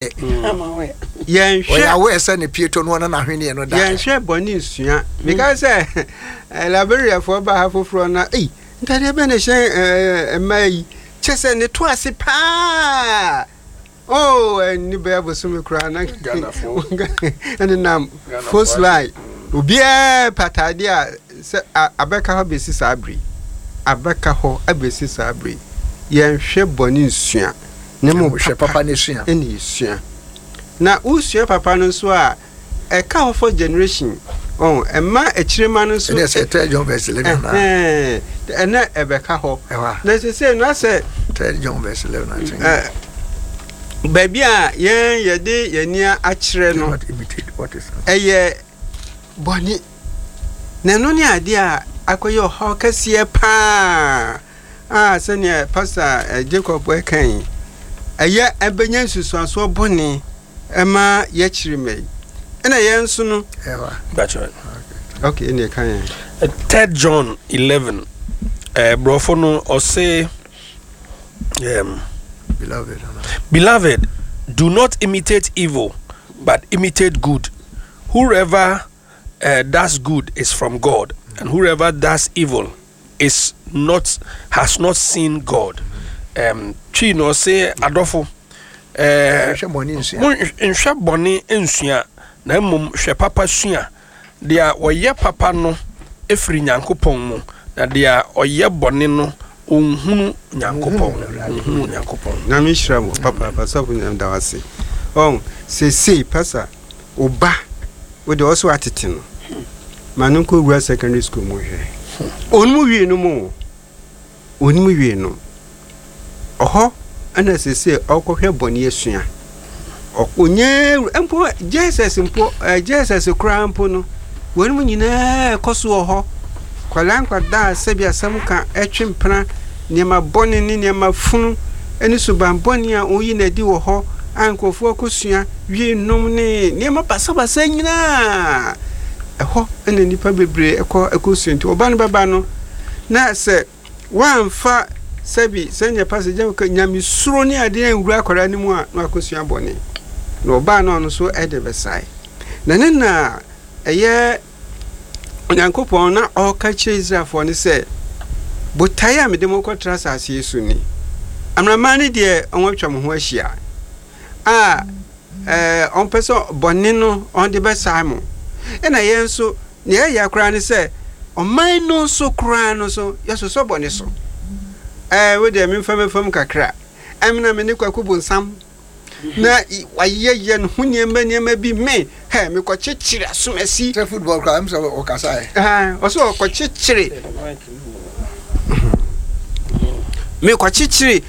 Yɛnhwɛ. Ɔyɛ aware sɛ ne pieto no ɔne n'ahweneɛ no da. Yɛnhwɛ bɔne nsua. Mekae sɛ Liberiafoɔ baa ha foforɔ na ei ntadeɛ bɛn na ɛhyɛ mmaa yi kyɛ sɛ ne to ase paa oh ɛni bɛyɛ bosome koraa na ɛnenam first line obiara pɛ ataadeɛ a sɛ abɛka hɔ bɛsi saa bere abɛka hɔ abɛsi saa bere yɛnhwɛ bɔne nsua. Na mmom Hwɛ papa no sua. na esua. Na wosua papa no nso a, ɛka hɔ for generation. Ɔn, ɛma akyirema no nso. Ɛne sɛ Third John verse 11 na. Ɛhɛn, ɛnɛ ɛbɛka hɔ. Ɛhɔ a. Na sese no asɛ. Third John verse 11 I think. Ɛ, baabi a yɛn yɛde yɛn ani akyerɛ no. Do not imitate what is. Ɛyɛ bɔne. Na ɛno ne adeɛ a akɔyɛ ɔhaw kɛseɛ paa. A Sɛnea Pastor Jacob reka yi, ɛyɛ ɛbɛnya nsusuansoɔ bɔne ɛma yɛakyiri mma yi. Ɛna yɛn nso no. That's right. Okay, ɛna ɛka yɛn. Third John 11. Brɔfo no ɔse Beloved, Beloved, do not imitate evil, but imitate good. Whoever does good is from God, and whoever does evil is not has not seen God. Twi na ɔse adɔfo nhwɛ bɔne nsua na mmom hwɛ papa sua. Deɛ ɔyɛ papa no firi Nyankopɔn mu, na deɛ ɔyɛ bɔne no ɔnhunu Nyankopɔn. Ɔnhunu Nyankopɔn. Nyame nhyira mo papaapa sɔfo Nyame da wase ɔn sesei pasa wo ba wo deɛ ɔsɛ watete no ma no nkɔ wura secondary school mu hwɛ ɔnim wie no mu ɔnim wie no ɔhɔ ɛna sese ɔkɔhwɛ bɔne asua ɔnyɛ mpo JSS mpo JSS koraa mpo no wɔn mu nyinaa ɛkɔ so wɔ hɔ nkwadaa nkwadaa sɛbi asɛm ka ɛtwe mpena nneɛma bɔne ne nneɛma funu ne suban bɔne a wɔyi no adi wɔ hɔ a nkurɔfoɔ akɔsua wie nom ne nneɛma basabasa nyinaa. Ɛhɔ na nnipa bebree kɔ kɔsua. Nti ɔba no bɛba no, na sɛ woamfa sɛbi sɛnea pastor gya ka nyamesuro ne adeɛ anwura akwadaa no mu a, na wakɔsua bɔne. Na ɔbaa no ɔno nso de bɛsae. Na ne na ɛyɛ Onyankopɔn na ɔreka kyerɛ Israelfoɔ no sɛ, Botaeɛ a mede mo rekɔtra asase yi so ni. Amanaman no deɛ wɔatwa mo ho ahyia a ɛɛ wɔmpɛ sɛ bɔne no wɔde bɛsae mo. Ɛna yɛn nso, nea ɛyɛ koraa ne sɛ ɔman no nso koraa no nso yɛsosɔ bɔne so. Ɛɛ wo deɛ memfa mɛfam kakra. Ɛmena me ne Kwaku Bonsam na wayɛyɛ ne ho nneɛma nneɛma bi me hɛ mekɔkyekyere asomasi. Sɛ football koraa m sɛ ɔkasa ɛ. Ɔsɛ ɔkɔkyekyere mekɔkyekyere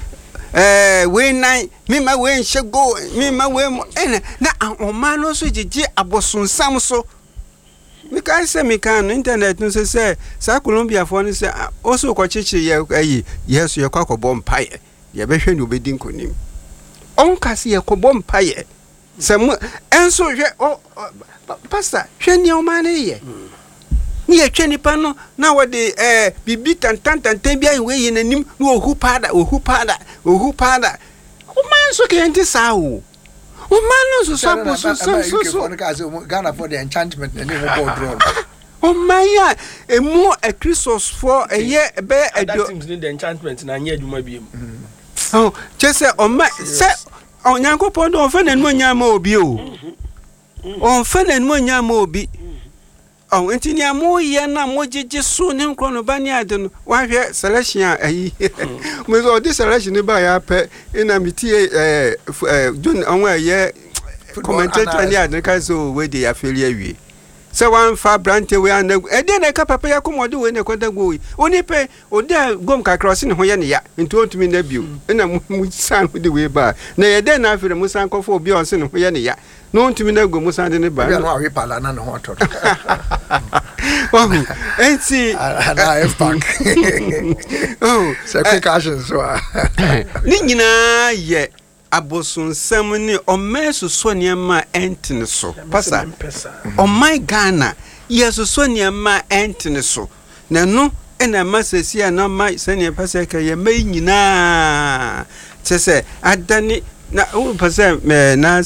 ɛɛ wei nan mema wei nhyɛ goal mema wei mu ɛna na ɔman no nso gyegye abosonsam so. Mekae sɛ mekaa no internet no so sɛ saa Colombiafoɔ no sɛ ɔsɛ ɔkɔkyekyere yɛ ɛyi yɛ so yɛkɔ akɔbɔ mpaeɛ. Yɛbɛhwɛ nea obedi nkonim. Ɔnka sɛ yɛkɔbɔ mpaeɛ sɛ mo ɛnso hwɛ ɔ pastor hwɛ nea ɔman no yɛ. Ne yɛtwa nipa no na wɔde ɛɛ biribi tantantantan bi ayɛ wei yɛ n'anim na ohu paada ohu paada ohu paada. Ɔman nso kɛyɛ nte saa o. Ɔman no nso so abosonsɛm so so. Ghana for the enchantment na ne ho bɔɔ draw no. Ɔman a emu Akristofoɔ ɛyɛ bɛyɛ aduo. Other teams ni the enchantment na anyɛ adwuma biem. Oh, kyɛ sɛ ɔma sɛ Onyankopɔn de ɔmfa n'animuonyam ma obi o. Ɔmfa n'animuonyam ma obi. Ɔho nti nea moyɛ na mogyegye so ne nkorɔnoba ne ade no, wahwɛ selection a ayi. Mo sɛ ɔde selection no baeɛ apɛ na metie ɛɛ ɛɛ John ɔho a ɛyɛ commentator ne ade no ka sɛ o wei de yɛafeli awie. Sɛ wamfa aberanteɛ wei anna gu ɛdeɛ na ɛka papa yi akoma ɔde wei na ɛkɔda goal yi onipa yi ɔda gom kakra ɔse ne ho yɛ ne ya nti ɔntumi nna bio ɛna mo san de wei baa na ɛyɛ dɛn na afei na mo san kɔfa obi a ɔse ne ho yɛ ne ya na ɔntumi nna gom mo san de ne ba Ebi a na wawe pala na ne ho atɔ no. Wahu nti Anaa F pack. Oh, Sɛ quick action so a. Ne nyinaa yɛ Abosonsɛm ne ɔman sosɔ nneɛma a ɛntene so. Pasa, ɔman Ghana, yɛsosɔ nneɛma a ɛntene so. Na ɛno na ɛma seesei a na ama sɛnea pasa ɛka yɛn mma yi nyinaa kyerɛ sɛ adane na wopɛ sɛ na.